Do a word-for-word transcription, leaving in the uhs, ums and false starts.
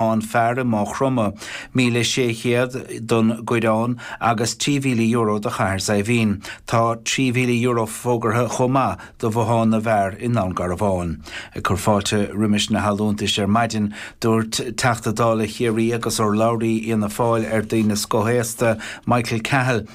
Bothán Fear i Maigh Chromtha, míle sé chéad don gCoireán agus trí mhíle euro do Chathair Saidhbhín. Tá trí mhíle euro fógartha chomh maith do Bhothán na bhFear i nDún Garbhán. Ag cur fáilte roimis na hallúntais ar maidin, dúirt Teachta Dála Chiarraí agus urlabhraí Fhianna Fáil ar daoine scothaosta Michael Cahill